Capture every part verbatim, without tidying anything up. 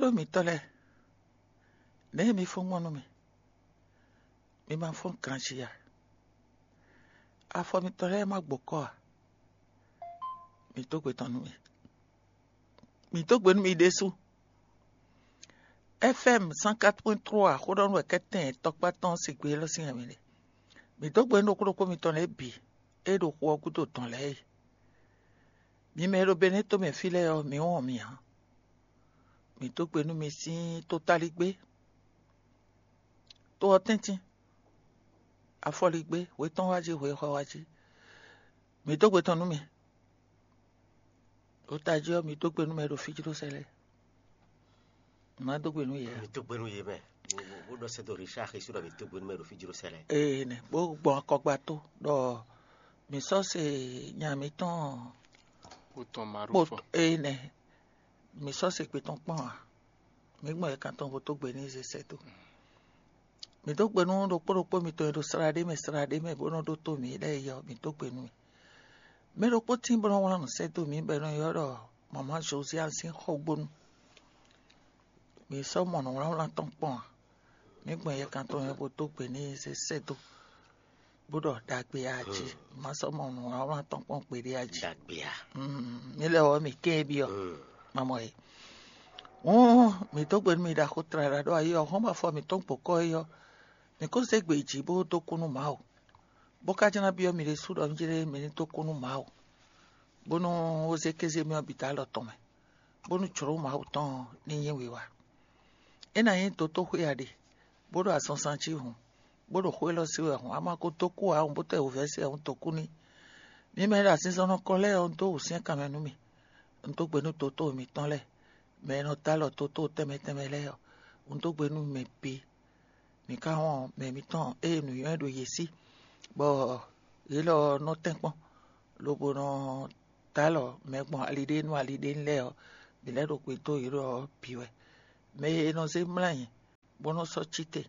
Ɖó mitɔ́ lɛ́ɛ, nɛ̌ mi fɔ́n gbɔn nú mì? Mi ma fɔ́n ganjí a? Afɔ mitɔn lɛ́ɛ ma gbokɔ a? Mi dó gbe tɔn nú mì. Mi dó gbe nú mi ɖésú. F M cent quatre point trois xó ɖɔ nú wɛ kɛ́tɛn tɔkpá tɔn sigbe élɔ́ sín wɛ mi ɖe. Mi dó gbe nú ɖokpó ɖokpó mitɔn lɛ́ɛ bǐ e ɖo xu ɔ́ gúdo dɔn lɛ́ɛ é. Mi mɛ e ɖo Benɛ́to mɛ fí lɛ́ɛ ɔ́, mi wɔn mi ǎ. Mi dó gbe nú mi sín tótáligbé, tó ɔ́ tɛ́ntin, afɔligbé, hwe tɔn wá jí, hwe xɔ wá jí. Mi dó gbe tɔn nú mi. Ɖo tají ɔ́, mi dó gbe nú mɛ e ɖo fí jí ɖó sɛ lɛ́ɛ. Má dó gbe nú yě a? Mi dó gbe nú yě mɛ. Bó ɖɔ sɛ́ dó Richard Xesu ɖɔ mi dó gbe nú mɛ e ɖo fí jí ɖó sɛ lɛ́ɛ. Ee nɛ, bó gbɔn akɔgba tó ɖɔ mi sɔ́ se nya mitɔn Kpó tɔn ma ɖo kpó fɔ. Ee nɛ, mi sɔ́ se gbe tɔn kpɔ́n a? Mi gbɔn yɛ kan tɔn bó dó gbe n'i zé sɛ́ dó. Mi dó gbe nú ɖokpó ɖokpó mitɔn e ɖo slá ɖé mɛ slá ɖé mɛ bó nɔ́ ɖótó mǐ lɛ́ɛ é ɔ́, mi dó gbe nú mì. Mɛ ɖokpó tíin bó nɔ́ wlán nǔ sɛ́ dó mǐ bɔ è nɔ ylɔ́ ɖɔ mama Josiane sín xɔgbónu. Mi sɔ́ mɔ nǔwlánwlán tɔn kpɔ́n a? Mi gbɔn yɛ kan tɔn mɛ bó dó gbe n'i zé sɛ́ dó, bó ɖɔ ɖagbe a jí. Ma sɔ́ mɔ nǔwlánwlán tɔn kpɔ́n gbeɖé a jí. Ɖagbe a? Mm, mi lɛ ɔ́, mi kɛ́n byɔ́. Mm. Mamɔ e. Hǔn mi dó gbe nú mi ɖaxó tlala ɖó ayi ɔ́, hɔn afɔ mǐtɔn gbǒkɔ é ɔ́, mǐ kó zé gbe yi jǐ bó dó kú nú Mawu, bó ka jlá byɔ́ mi ɖésú ɖɔ mí jlé mi ní dó kú nú Mawu, bónú ó zé kéze mì ɔ́ bǐ dó alɔ tɔn mɛ, bónú jlǒ Mawu tɔn ɔ́ ní nyí wiwa. É ná nyí dotóxwé a ɖe, bó ɖo azɔnzan jí hǔn, bó ɖo xó élɔ́ sí wɛ hǔn, a ma ko dó kú ǎ hǔn, bó tɛ́ wǔvɛ́ se ɔ́, un dó kú n'i. Mi mɛ e ɖo azinzɔnnɔ kɔn lɛ́ɛ ɔ́, un dó wǔsyɛ́n kan mɛ nú mi. Un dó gbe nú dotóo mitɔn lɛ́ɛ, mɛ e nɔ dó alɔ dotóo tɛnmɛ tɛnmɛ lɛ́ɛ ɔ́, un dó gbe nú mɛ bǐ. Mǐ ka wɔn mɛ mǐtɔn ée nǔnywɛ́ ɖo yě sí, bɔ yě lɔ nɔ tɛ́nkpɔ́n, lobo nɔ dó alɔ mɛ gbɔn ali ɖé nú ali ɖé lɛ́ɛ ɔ́, mǐ lɛ́ ɖo gbe dó yě ɖɔ ɔ́ bǐ wɛ. Mɛ e nɔ zé mlɔ́ ayǐ, bó nɔ́ sɔ́ cí te,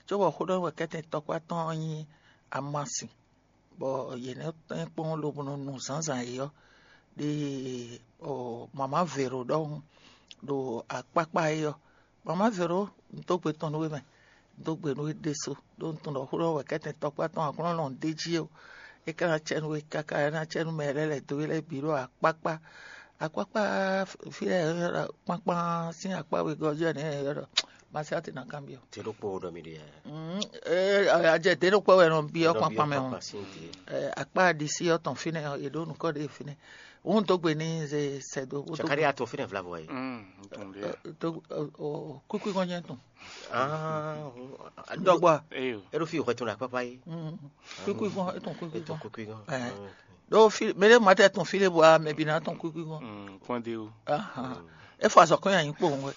cóbɔ xó ɖɔ wɛ kɛ́tɛn tɔkpá tɔn ɔ́ nyí amasin, bɔ yě nɔ́ tɛ́nkpɔ́n lobo nɔ nu zǎnzǎn é ɔ́, ɖi mama Vero ɖɔhun ɖo akpákpá é ɔ́. Mama Vero, un dó gbe tɔn nú we mɛ, un dó gbe nú we ɖésú, ɖó un tunwun ɖɔ xó ɖɔ wɛ kɛ́tɛn tɔkpá tɔn aklúnɔ lɔn ɖ'é jí ó. É ka ná cɛ nú we káká, é ná cɛ nú mɛ lɛ́ɛ lɛ̌ dó we lɛ́ɛ bǐ ɖo akpákpá. Akpákpá fí lɛ́ɛ kpákpán sín akpá wegɔ́ ɔ́ jí wɛ nɛ̌ ylɔ́ ɖɔ Masiáti ná kanbyɔ́. Te ɖokpó ɖɔ mi ɖe. Ajɛ dě ɖokpó wɛ nɔ byɔ́ kpákpán mɛ ɔ́. Akpá ɖisí ɔ́ tɔn fínɛ́ ɔ́, è ɖǒ nǔkɔ ɖé fínɛ́. Wǔ un dó gbe n'i zé sɛ́ dó. Cakari atɔ fínɛ́ vlavo yi. Kúkú gɔn jẹ́ tɔn. Dɔgba. Eɖo fi hwɛ tɔn ɖe akpakpa yi. Kúkú gɔn, etɔn kúkú gɔn. Kúkú gɔn. Ɖo fi mɛ ɖé ma tɛ tɔn fi ɖé bɔ mɛ bi na tɔn kúkú gɔn. Kpɔn de o. Ahan. E fɔ azɔ kɔn yanyi kpowun wɛ.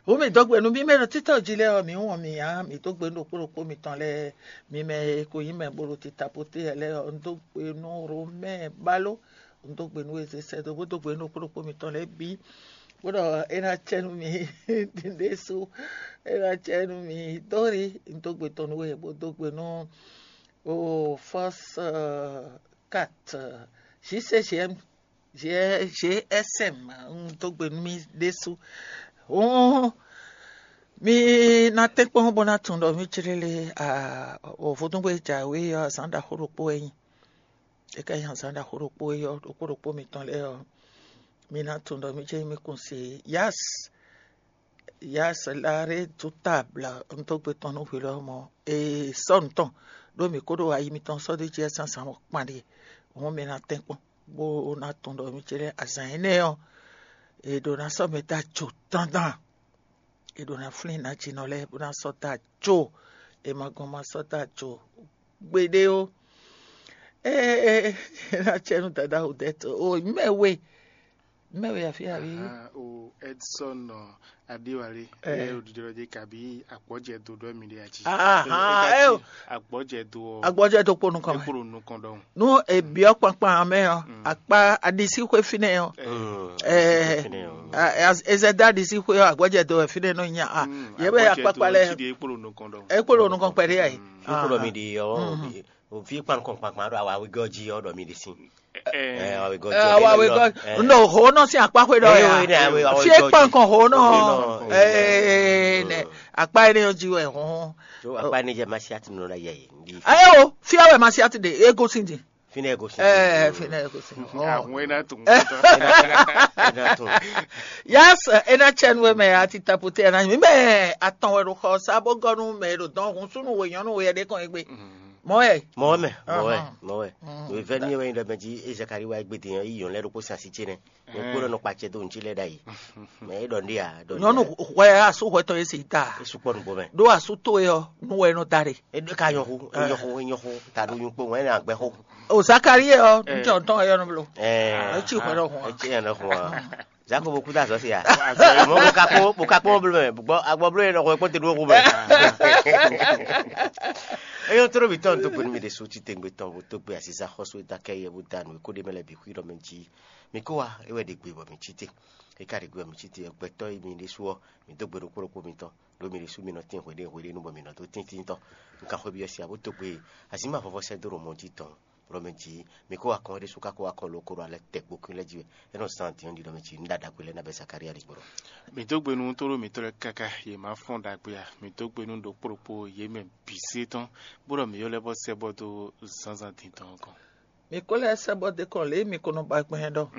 Wo mi dó gbe nu bí mɛ ɖo títɔ jí lɛ ɔ, mi wɔn mi ya, mi dó gbe nu ɖokpó ɖokpó mitɔn lɛ, mi mɛ e ko nyí mɛ bolo tita pote lɛ ɔ, un dó gbe nu Romɛ balo, un dó gbe nu eze sɛ dó bó dó gbe nu ɖokpó ɖokpó mitɔn lɛ bí. Bó ɖɔ é ná cɛ nu mi ɖésú, é ná cɛ nu mi dóri, un dó gbe tɔn nu we bó dó gbe nu o fɔs kat zi se zi ɛm J S M, un dó gbe nú mì ɖésú. Hǔn mi ná tɛ́nkpɔ́n bó ná tunwun ɖɔ mì clélé vodúngbé jǎwe ɔ́, azǎn ɖaxó ɖokpó wɛ nyí. É ka nyí azǎn ɖaxó ɖokpó é ɔ́, ɖokpó ɖokpó mitɔn lɛ́ɛ ɔ́, mi ná tunwun ɖɔ mì jɛ́n mi kún se Yas, Yas Laré dú tabla un dó gbe tɔn nú hwi lɔmɔ̌. Ee, sɔ́ nǔ tɔn, ɖó mǐ kó ɖo ayi mitɔn sɔ́ ɖó jí wɛ zǎnzǎn ɔ́ kpan ɖíe. Hǔn mi ná tɛ́nkpɔ́n bó ná tunwun ɖɔ mì ce lɛ́ɛ azǎn énɛ́ ɔ́, è ɖǒ ná sɔ́ mɛ dó ajo dandan. È ɖǒ ná flín nǎjínɔ lɛ́ɛ bó ná sɔ́ dó ajo. È ma gɔn ma sɔ́ dó ajo gbeɖé ó. Ee, é ná cɛ nú dadá Odette o, mɛ we, mɛ we afí aví. O Edson Adiwale, ɛ o didi lɔ dé kabi agbɔjɛ do dɔ mi de ati. Ahan, ɛ o. Agbɔjɛ do. Agbɔjɛ do kponu kɔmɛ. Kponu nukɔn dɔn. Nu ebiɔ kpankpan mɛ ɔ, akpa adisi xwe finɛ ɔ. Ɛ ezɛda adisi xwe ɔ, agbɔjɛ do finɛ nɔ nya a. Yɛ bɛ akpakpa lɛ. Ekpolo nukɔn kpɛɖe ayi. Ekpolo mi di ɔ. O fi kpan kɔn kpankpan ɖo awa wegɔ́ jí ɔ́ ɖɔ mi ɖe sin. Ɛ, awa wegɔ́ jí. Awa wegɔ́. Ndo ho nɔ sin akpa xwe ɖɔ ya. Fi kpan kɔn ho nɔ. Ɛ, nɛ akpa yɛ ne yɔ jí wɛ hɔn. Tso akpa ne jɛ masiati nɔ la yɛ yi. Ayo, fi awɛ masiati de ego sin di. Fi ne ego sin. Ɛ, fi ne ego sin. Ahun ena tun. Ena tun. Yes, ena chɛn wɛ mɛ ati tapote ena mi mɛ atɔn wɛ ɖo xɔ sa bó gɔnu mɛ ɖo dɔn hun sunu wɛ nyɔnu wɛ ɖe kɔn egbe. Mɔ wɛ. Mɔ wɛ mɛ, mɔ wɛ, mɔ wɛ. Wevɛni wɛ nyi ɖɔ mɛ jí e Zakari wa egbe din ɔ́, yi yɔn lɛ ɖokpó sin asi ce nɛ. Mɛ kpó nɔ kpa acɛ dó ŋutsi lɛ ɖ'ayǐ. Mɛ é ɖɔ nɖé a ɖɔ. Nyɔnu hwɛ asú hwɛ tɔn e se ta. É sukpɔ nǔgbó mɛ. Ɖó asú towe ɔ́, nú wɛ nɔ da ɖe. É ɖo ka nyɔxu, é nyɔxu, é nyɔxu. Ta ɖo nyɔkpo wɛ nɔ agbɛ xo. O Zakari ɔ́, ŋutɔ tɔn yɔ nɔ blo. Ɛɛ. É tsi hwɛ ɖɔ hun. É tsi yɛn ɖɔ hun a. Zako bo kúta azɔ sia. Mɔ bo ka kpɔn bo ka kpɔn blo mɛ. Bɔ agbɔ blo yɛ ɖɔ xɔ kpɔn te ɖo xu mɛ. Eyɔn toro bi tɔn to gbenu mi ɖe so ti tengbe tɔn bo to gbe asiza xɔsu e da kɛ yɛ bo da nu ko ɖe mɛ lɛ bi xui ɖɔ mɛ ji. Mi ko wa e wɛ ɖe gbe bɔ mi ci te. E ka ɖe gbe bɔ mi ci te gbɛtɔ yi mi ɖe su ɔ mi do gbe ɖokpo ɖokpo mi tɔn. Ɖo mi ɖe su mi nɔ tin hweɖe hweɖe nu bɔ mi nɔ do tintin tɔn. Mi ka xwe bi ɔ sia bo to gbe azima vɔvɔ sɛ do ɖo mɔ ji tɔn. Ɖɔ mɛ ji mi ko wa kɔn ɖe su ka ko wa kɔn lo ko ɖo alɛ tɛ gbokun lɛ ji wɛ. E nɔ zan din ɔ́ ɖi ɖɔ mɛ ji nu ɖaɖa gbe lɛ na bɛ Zakaria ɖi gbɔɖɔ. Mi dó gbe nú tóɖó mǐtɔn lɛ́ɛ káká yě má fɔ́n ɖagbe ǎ. Mi dó gbe nú ɖokpó ɖokpó yě mɛ bǐ sí tɔn, bó ɖɔ mǐ ylɔ́ lɛ́ bɔ sɛ́ bɔ dó zǎnzǎn din tɔn ɔ́ gɔ́n. Mi ko lɛ́ sɛ́ bɔ dé kɔn lě e mi ko nɔ ba gbɛn ɖɔ.